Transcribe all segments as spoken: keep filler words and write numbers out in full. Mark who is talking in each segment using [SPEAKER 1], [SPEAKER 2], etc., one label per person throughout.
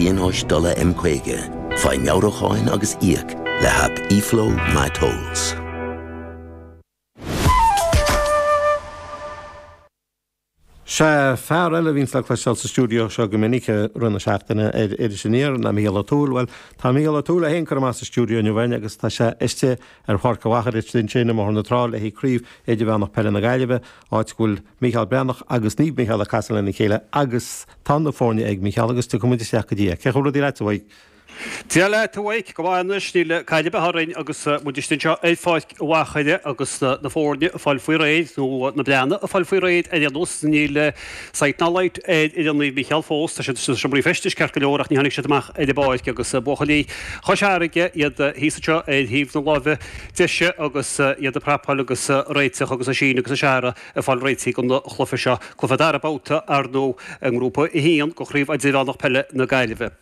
[SPEAKER 1] pionóis dola M caoga, faigh meabhrúcháin agus íoc le haip eFlow MyTolls.
[SPEAKER 2] Sea, fear eile a bhíonns le cloisteáil sa stiúideo seo go minic i rith na seachtaine ar Iris Aniar ná Mícheál Ó Tuathail. Bhuel, tá Mícheál Ó Tuathail é féin curtha amach as an stiúideo inniu againn agus tá sé istigh ar Pháirc an Mhachaire ansin i mBóthar na Trá le haghaidh Craobh Idirmheánach Peile na Gaillimhe, áit go bhfuil Mícheál Breathnach agus Naomh Mícheál ag casadh lena chéile agus tá na foirne ag Mícheál agus tiocfaidh muid isteach go dtí é. Cén chaoi a bhfuil rudaí leat, a Mhaidhc?
[SPEAKER 3] Dia leat, a Mhaidhc, go maith anois, níl caill ar bith orainn agus muid istigh anseo ar Pháirc an Mhachaire agus na foirne ag fáil faoi réir, nó na Breathnaigh ag fáil faoi réir ar aon nós. Níl sight ná light ar fhoireann Naomh Mícheál fós. Tá siad sna seomraí feistis ceart go leor ach ní tháinig siad amach ar an bpáirc agus buachaillí Chois Fharraige, iad thíos anseo ar thaobh na láimhe deise agus iad ag prapáil agus réiteach agus Oisín agus Seara ag fáil réitithe don chluiche seo, cluiche dara babhta ar ndóigh i nGrúpa a haon de Chraobh Idirmheánach Peile na Gaillimhe.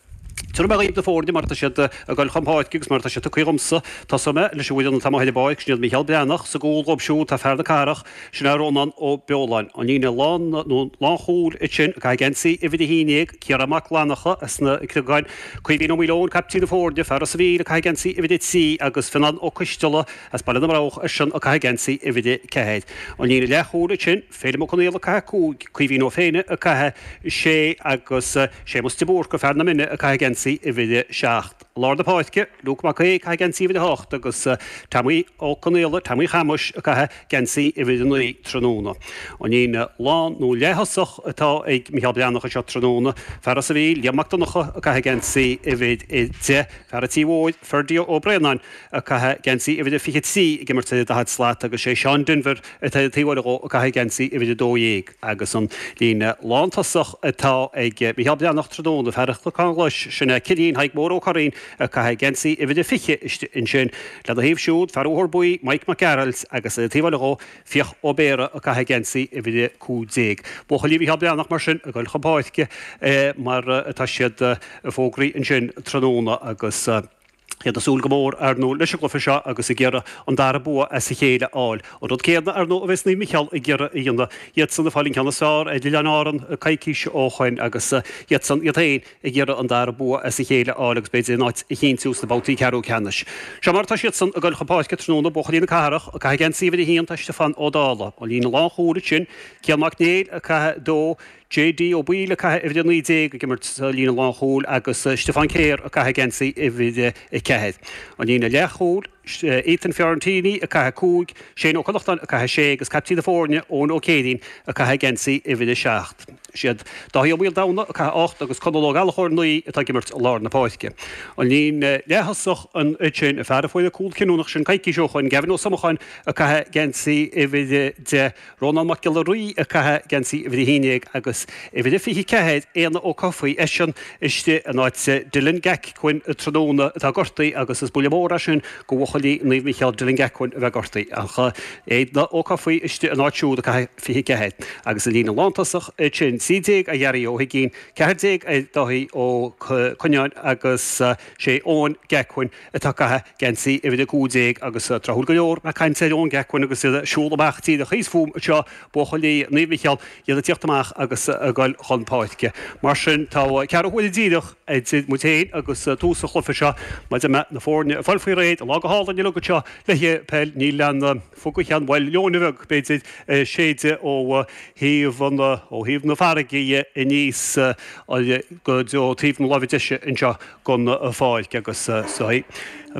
[SPEAKER 3] Tabharfaidh mé dhaoibh na foirne mar atá siad ag dul chun páirce agus mar atá siad tugtha dhomsa. Tosóidh mé leis an bhfoireann atá amuigh ar an bpáirc, sin iad Mícheál Breathnach, sa gcúl dhóibh siúd tá fear na cathrach, sin é Rónán Ó Beoláin. An líne lán nó lánchúil ansin ag caitheamh geansaí uimhir a haon déag, Ciarán Mac Fhlannacha as na Cnogáin, Caoimhín Ó Maoileoin, caiptín na foirne, fear Ros an Mhíl ag caitheamh geansaí uimhir a trí agus Fionán Ó Coisteala as Baile na mBroghach eisean ag caitheamh geansaí uimhir a ceathair. An líne leathchúil ansin, Féilim Ó Conaola ag caitheamh cúig, Caoimhín Ó Féinne ag caitheamh sé agus Séamus de Búrca, fear na Mine, ag caitheamh geansaí uimhir a seacht. I lár na páirce, Luke Mac Aoidh ag caitheamh geansaí uimhir a hocht agus Tommy Ó Conaola, Tommy Chamuis, ag caitheamh geansaí uimhir a naoi tráthnóna. An líne lán nó leath-thosach atá ag Micheál Breathnach anseo tráthnóna, fear Ros an Mhíl, Liam Mac Donncha ag caitheamh geansaí uimhir a deich, fear an Tí Mhóir, Ferdie Ó Braonáin ag caitheamh geansaí uimhir a fiche trí ag imirt ar an daichead slat agus sé Seán Denvir atá ar an taobh eile dhó ag caitheamh geansaí uimhir a dó dhéag agus an líne lántosach atá ag Micheál Breathnach tráthnóna, fear an Chnocáin Ghlais, sin é Cillian Thaidhg Mór Ó Curraoin ag caitheamh geansaí uimhir a fiche istigh ansin. Lena thaobh siúd, fear Bhóthar Buí, Mike Mac Gearailt agus ar an taobh eile dhó, Fiach Ó Béarra ag caitheamh geansaí uimhir a cúig déag. Buachaillí Mhicheál Breathnach mar sin ag dul chun páirce mar atá siad fógraithe ansin tráthnóna agus iad ag súil go mór, ar ndóigh, leis an gcluiche seo agus ag iarraidh an dara bua as a chéile a fháil. An rud céanna, ar ndóigh, a bheas Naomh Micheál ag iarraidh a dhéanamh. Iadsan ag fáil an ceann is fearr ar Oileáin Árann coicís ó shoin agus iadsan iad féin ag iarraidh an dara bua as a chéile a fháil agus b'fhéidir a n-áit a chinntiú sna babhtaí ceathrú ceannais. Seo mar atá siadsan ag dul chun páirce tráthnóna, buachaillí na cathrach ag caitheamh geansaí uimhir a haon tá Stiofán Ó Dálaigh. An líne lánchúil ansin, Cian Mac Néill ag caitheamh dó, JD Ó Baoill ag caitheamh uimhir a naoi déag ag imirt sa líne lánchúil agus Stiofán Kerr ag caitheamh geansaí uimhir a ceathair. An líne leathchúil, Ethan Fiorentini ag caitheamh cúig, Shane Ó Connachtáin ag caitheamh sé agus caiptín na foirne, Eoin Ó Céirín ag caitheamh geansaí uimhir a seacht. Is iad Dáithí Ó Maoldomhnaigh ag caitheamh ocht agus Conall Ó Gallchóir naoi atá ag imirt i lár na páirce. An líne leath-thosach ansin, an fear a fuair an cúl cinniúnach sin coicís ó shoin, Gavin Ó Somacháin ag caitheamh geansaí uimhir a deich, Rónán Mac Giolla Rí ag caitheamh geansaí uimhir a haon déag agus uimhir a fiche ceathair, Éanna Ó Cofaigh, eisean istigh in áit Dylan Gacquin tráthnóna atá gortaithe agus is buille mór é sin go bhuachaillí Naomh Micheál Dylan Gacquin a bheith gortaithe ach Éanna Ó Cofaigh istigh in áit siúd ag caitheamh fiche ceathair agus an líne lántosach ansin, trí déag ar Ghearaí Ó hUiginn, ceathair déag ar Dáithí Ó Coineáin agus sé Eoin Gacquin atá ag caitheamh geansaí uimhir a cúig déag agus tráthúil go leor ag caint ar Eoin Gacquin agus iad ag siúl amach díreach thíos fúm anseo, buachaillí Naomh Micheál, iad ag tíocht amach agus ag dul chun páirce. Mar sin, tá ceathrú huaire díreach idir muid féin agus tús an chluiche seo. Maidir le na foirne ag fáil faoi réir, an lá go hálainn uilig anseo le haghaidh peil, níl aon fhuagaichean, bhuel, leoithne bheag, b'fhéidir, ag séideadh ó thaobh an, ó thaobh na farraige aníos go dtí taobh na láimhe deise anseo. gon pháirc agus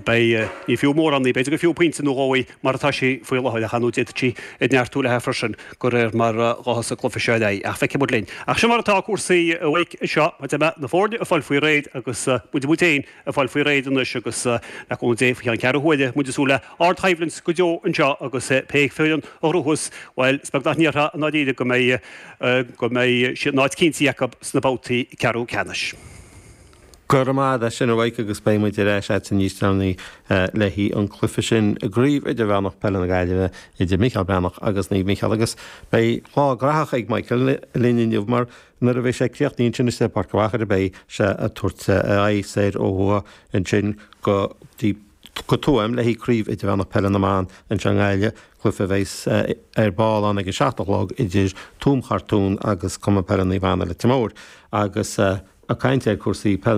[SPEAKER 3] beidh, ní fiú mórán í, b'fhéidir gur fiú pointe nó dhó í mar atá sí faoi láthair ach ar ndóigh d'fhéadfadh sí ag neartú léi freisin de réir mar a ghabhfas an cluiche seo ar aghaidh ach feicfidh muid linn. Ach sin mar atá cúrsaí a Mhaidhc anseo maidir le na foirne ag fáil faoi réir agus muid muid féin ag fáil faoi réir anois agus le cúnamh Dé faoi cheann ceathrú huaire muid ag súil le ardchoimhlint go deo anseo agus pé foireann a ghnóthós, bhuel is beag nach ndéarfá i ndáiríre go mbeidh go mbeidh a n-áit cinntithe acu sna babhtaí ceathrú ceannais.
[SPEAKER 2] Go raibh maith agat as sin a Mhaidhc agus beidh muid ar ais agatsa níos deireanaí le haghaidh an cluiche sin i gCraobh Idirmheánach Peile na Gaillimhe idir Mícheál Breathnach agus Naomh Mícheál agus beidh lá graitheach ag Michael linn inniu mar nuair a bheidh sé críochnaithe ansin istigh i bPáirc an Mhachaire beidh sé ag tabhairt a aghaidh soir ó thuaidh ansin go dtí go Tuaim le haghaidh Craobh Idirmheánach Peile na mBan anseo i nGaillimh, cluiche a bheas ar ball ann ag a seacht a chlog idir Tuaim Chartún agus Cumann Peile Naomh Anna Leitir Móir agus. Ag caint ar cúrsaí peile na.